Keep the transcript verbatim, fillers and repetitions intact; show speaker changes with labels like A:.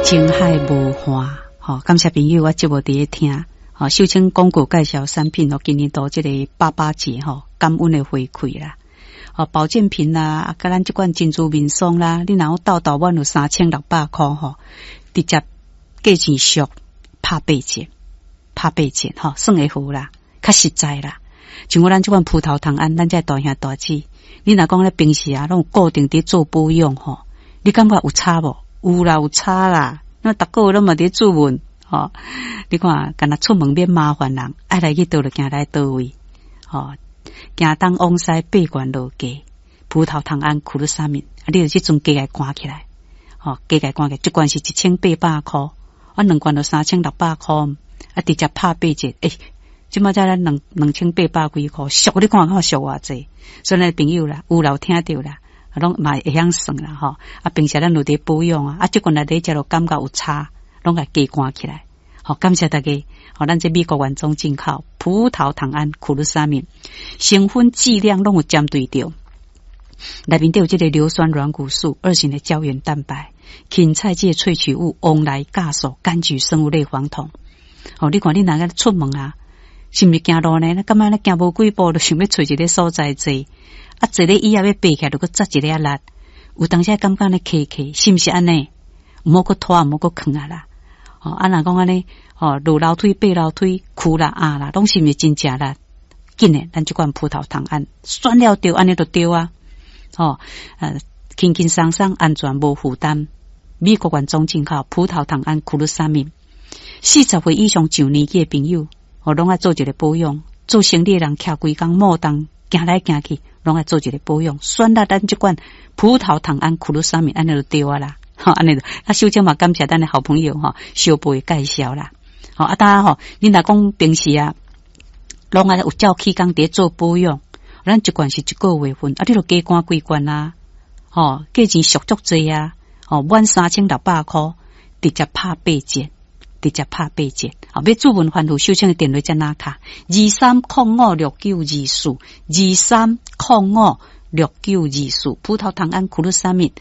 A: 情海無岸，吼，感謝朋友，我節目佇咧聽，吼，秀清廣告介紹產品哦，今年度這個爸爸節吼，感恩的回饋啦，吼，保健品啦，啊，佮咱這款珍珠面霜啦，你若有鬥鬥滿有三千六百箍吼，直接價錢俗，拍八折，拍八折吼，算會好啦，較實在啦。像我咱這款葡萄糖胺，咱這大兄大姊，你若講咧平時啊，攏有固定佇做保養吼，你感覺有差無？有啦，有差啦。那逐個月攏嘛佇注文，吼，你看，敢若出門免麻煩人，愛來去佗就行來佗位，吼，行東往西八懸落加，葡萄糖胺苦魯沙明，啊，你就這陣加來關起來，吼，加來關起來，一罐是一千八百箍，啊，兩罐就三千六百箍，啊，直接拍八折，欸，這馬才咱兩兩千八百幾箍，俗你看看俗偌濟，所以咱朋友啦，有留聽著啦。攏嘛會曉算啦吼，啊，平時咱有佇保養啊，啊，這罐來佇食就感覺有差，攏共加關起來。好，感謝大家。好，咱這美國原裝進口葡萄糖胺苦魯沙明，成分劑量攏有針對著。內面底有這個硫酸軟骨素、二型的膠原蛋白、芹菜這個萃取物、黃來酵素、柑橘生物類黃酮。哦，你看你若個出門啊，是毋是行路呢？感覺咧行無幾步，就想欲揣一個所在坐。啊，坐咧椅仔欲爬起來，就閣扎一下力。有當時感覺咧磕磕，是毋是按呢？毋好閣拖，毋好閣囥啊啦。哦，啊若講按呢，哦，落樓梯、爬樓梯、跍啦、壓啦，攏是毋是真食力？緊的，咱這款葡萄糖胺，選了著按呢就對啊。吼，呃，輕輕鬆鬆，安全無負擔。美國原裝進口葡萄糖胺苦魯沙明，四十歲以上上年紀的朋友，哦，攏愛做一個保養。做生理的人，徛規工莫動，行來行去，攏愛做一個保養。選擇咱這款葡萄糖胺苦魯沙明，按呢就對啊啦。吼，按呢就啊，秀清嘛感謝咱的好朋友吼，小貝介紹啦。吼，啊，當然吼，你若講平時啊，攏愛有照起工佇做保養，咱一罐是一個月份，啊，你就加關幾罐啊，吼，價錢俗足濟啊，吼，滿三千六百箍，直接拍八折，直接拍八折。好，欲注文番號，秀清的電話這哪卡？二三空五六九二四，二三空五六九二四，葡萄糖胺苦魯沙明。